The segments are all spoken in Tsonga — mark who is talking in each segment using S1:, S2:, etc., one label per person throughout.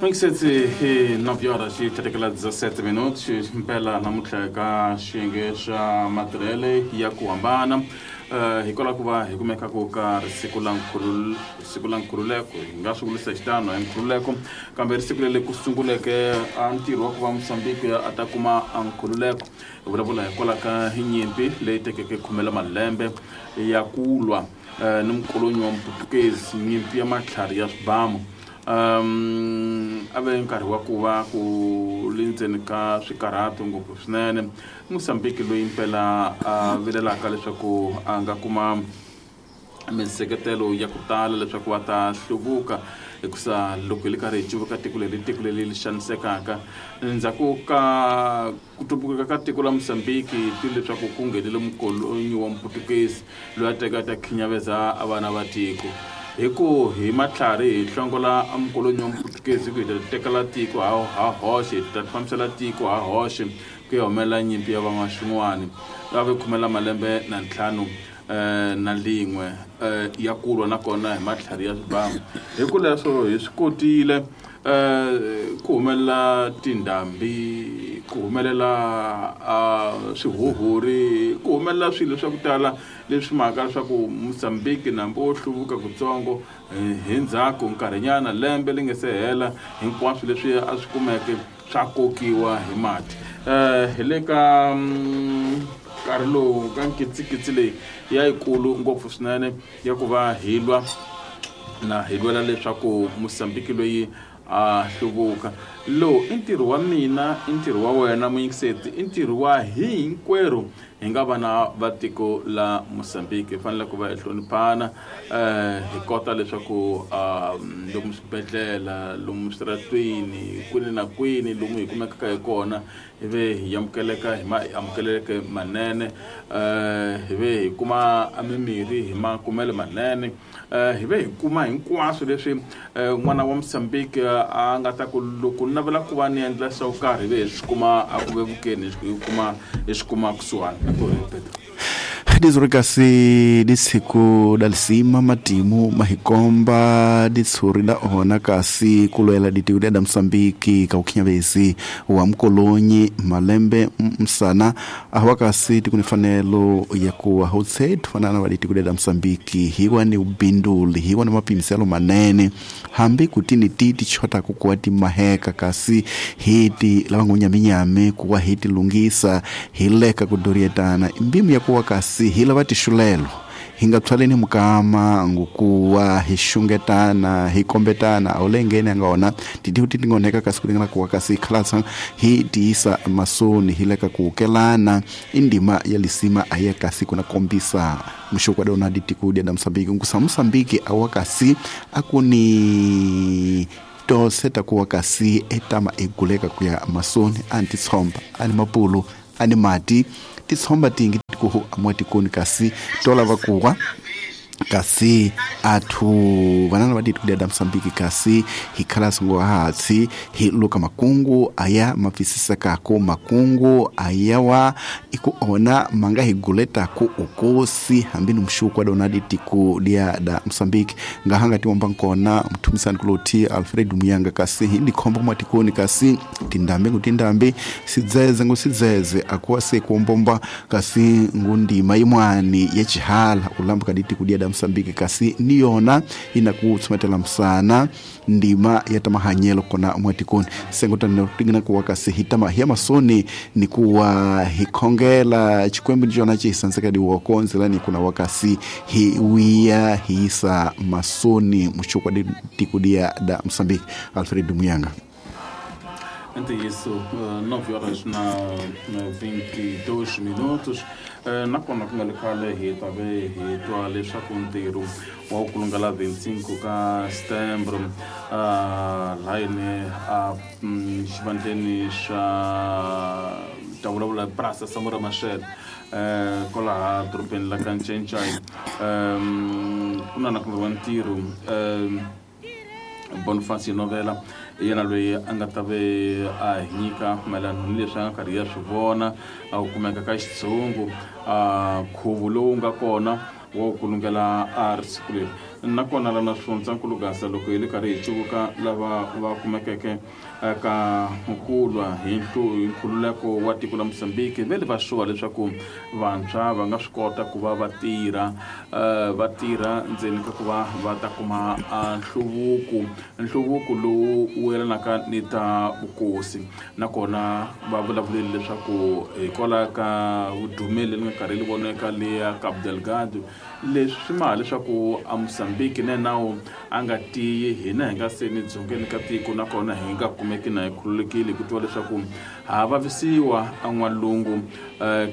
S1: Mingisetsi hi 9 horas yi tlhetekela 17 minutos mpela namuntlha eka xiyenge xa matirhele ya ku hambana hikwalaho ku va hi kumekaku ka risiku la siku la nkhululeko hi nga swi vulisa xitano hi nkhululeko kambe risiku leri ku sunguleke a ntirho wa ku va Mozambique a ta kuma a nkhululeko hi vulavula hikwalaho ka hi nyimpi leyi tekeke khume la malembe ya ku lwa ni mukolonyi wa Muputukezi, nyimpi ya matlhari ya swibamu. A ve nkarhi wa ku va ku le ndzeni ka swikarhato ngopfu swinene. Mozambique loyi mpela a vilelaka leswaku a nga kuma minseketelo ya ku tala leswaku va ta hluvuka, hikusa loko hi le karhi hi cuvuka tiko leri, tiko leri ri xanisekaka endzhaku ka ku tumbuluka ka tiko la Mozambique, hi twile leswaku ku nghenile mukolonyi wa Muputukezi loyi a teka a ta khinyaveza a vana va tiko. Hi ku hi matlhari hi hlongola a mukolonyi wa Muputukezi, hi ku hi ta tekela tiko ha hoxe, hi ta fambisela tiko ha hoxe, ku ya humelela nyimpi ya van'waxin'wani. Va ve khume la malembe na ntlhanu na lin'we ya ku lwa nakona hi matlhari ya swibamu. Hi ku leswo hi swi kotile ku humelela tindhambi, ku humelela swihuhuri, ku humelela swilo swa ku tala leswi mhaka leswaku Mozambique nambu wo hluvuka kutsongo hi ndzhaku nkarhinyana lembe li nge se hela hinkwaswo leswi a swi kumeke swa kokiwa hi mati. Hi le ka nkarhi lowu ka nkitsikitsi leyi ya yikulu ngopfu swinene ya ku va hi lwa na hi lwela leswaku Mozambique loyi a hluvuka. Lowu i ntirho wa mina, i ntirho wa wena muyingiseti, i ntirho wa hinkwerhu hi nga vana va tiko la Mozambique. Hi fanele ku va hi hloniphana, hi kota leswaku lomu swibedhlele, lomu switaratweni, kwini na kwini lomu hi kumekaka hi kona, hi ve hi amukeleka hi ma amukeleke manene, hi ve hi kuma mimirhi hi makumelo manene, hi ve hi kuma hinkwaswo leswi n'wana wa Mozambique a nga ta ku loko ni navela ku va ni endla swo karhi, hi ve hi swi kuma a ku vevukeni, hi kuma hi swi kuma kusuhani. Pedro.
S2: Dizuri kasi disiku dalisima matimu mahikomba ditsuri la ona kasi kulwela ditiko lya Mozambique ka ukhinyavezi wa mkolonyi malembe msana awa kasi tikunifanelo ya kuwa hotse tufanana wa ditiko lya Mozambique hiwa ni ubinduli hiwa ni mapimiselo manene hambi kutini titi chota kukuwa ti maheka kasi hiti lavangunyaminyame kuwa hiti lungisa hileka kudorietana mbimu ya kuwa kasi hila vatixulelo hi nga tswaleni mukama ngukuwa hi xungetana hi kombetana a wu lengeni a nga ona titihu ti tingoneka kasi ku ringana kuwa kasi khalasa hi tiyisa masoni hi leka ku kelana i ndima ya lisima a ya kasi kuna kombisa muxoko wa dona ditiko dia da Mozambique nkusa Mozambique a wa kasi a ku ni tose ta kuwa kasi etama eguleka ku ya masoni a ni titshomba a ni mapulu a ni mati titshomba tingi tikuhu amwatikoni kasi tolava kuwa kasi athu vanana va ditiko lya Mozambique kasi hi khalasa ngo hatsi hi luka makungu aya mapfisisekako makungu ayawa iku ona manga hi guletaku ukosi hambi ni mxuku wa dona ditiko lya da Mozambique ngahanga tiwomba nkona mthumisani kuloti Alfred Muyanga kasi hi ndikhomba mwatikoni kasi tindambi ngu tindambi sidzeze ngu sidzeze akuwa se kuombomba kasi ngundima imwani ya chihala ulambuka ditiko lya da Mozambique kasi niyona inakutsumetela msana ndima ya tamahanyelo kona mwatikoni sengotani tingina kuwa kasi hitama hiya masoni ni kuwa hikhongela chikwembu ndichona chihisanzeka diwokonzelani kuna wakasi hiwiya hiisa masoni muxukwa ditiko lya da Mozambique. Alfred Muyanga.
S1: Então isso, 9 horas na 22 minutos. Nakona ku nga le khale hi ta ve hi twa leswaku ntirho wa ku kulungela 25 ka setembro layini a xivandleni xa ta vulavula Praça Samora Machel kwalaha dorobeni la ka Ncencai, ku na na ku wa ntirho Boniface Novela yena loyi a nga ta ve a hi nyika mayelana ni leswi a nga karhi ya swi vona a ku kumeka ka xitshungu a nkhuvo lowu nga kona wa ku kulungela a ri siku leri. Nakona lana Swifundzankulu Gasa, loko hi le karhi hi cuvuka lava va kumekeke eka ku lwa hi nkhululeko wa tiko la Mozambique, ve le va xuwa leswaku vantshwa va nga swi kota ku va va tirha, va tirha ndzeni ka ku va va ta kuma nhluvuko, nhluvuko lowu wu yelanaka ni ta vukosi. Nakona va vulavulile leswaku hikwalaho ka vudumeli leri nga karhi ri voneka leya Cabo Delgado, leswi swi maha leswaku a Mozambique na nawu a nga tiyi, hina hi nga se ni dzongeni ka tiko, nakona hi nga kumeki na hi khululekile hi ku tiva leswaku ha vavisiwa en'walungu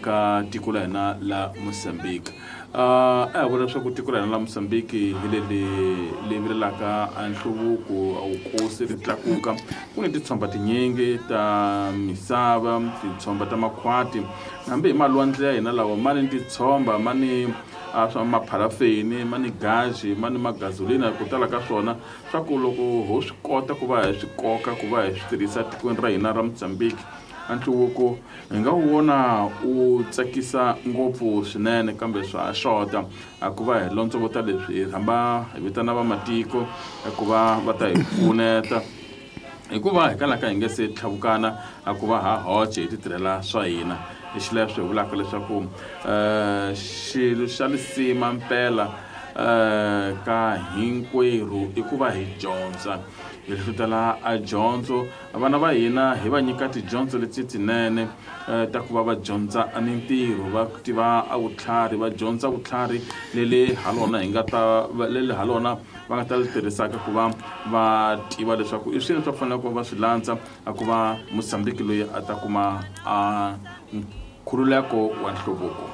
S1: ka tiko la hina la Mozambique. A hi vona leswaku tiko la hina la Mozambique hi leli li vilelaka a nhluvuko, vukosi ri tlakuka. Ku ni titshomba tinyingi ta misava, titshomba ta makhwati, hambi hi malwandle ya hina lawa ma ni titshomba, ma ni swa mapharafeni, ma ni gazi, ma ni magazolina, ku tala ka swona, swa ku loko ho swi kota ku va hi swi koka ku va hi swi tirhisa tikweni ra hina ra Mozambique, a nhluvuko hi nga wu vona wu tsakisa ngopfu swinene. Kambe swa ha xota a ku va hi lontsovota leswi, hi rhamba hi vitana vamatiko ku va va ta hi pfuneta, hikuva hi kalaka hi nge se tlhavukana a ku va ha hoce hi ti tirhela swa hina. Hi xileswo hi vulaka leswaku xilo xa lisima mpela ka hinkwerhu i ku va hi dyondza, hi hlutela a dyondzo. Vana va hina hi va nyika tidyondzo leti tinene ta ku va va dyondza a mintirho, va tiva a vutlhari, va dyondza vutlhari leli ha lona hi nga ta leli ha lona va nga ta li tirhisaka ku va va tiva leswaku i swilo swa fanele ku va swi landza a ku va Mozambique loyi a ta kuma a nkhululeko wa nhluvuko.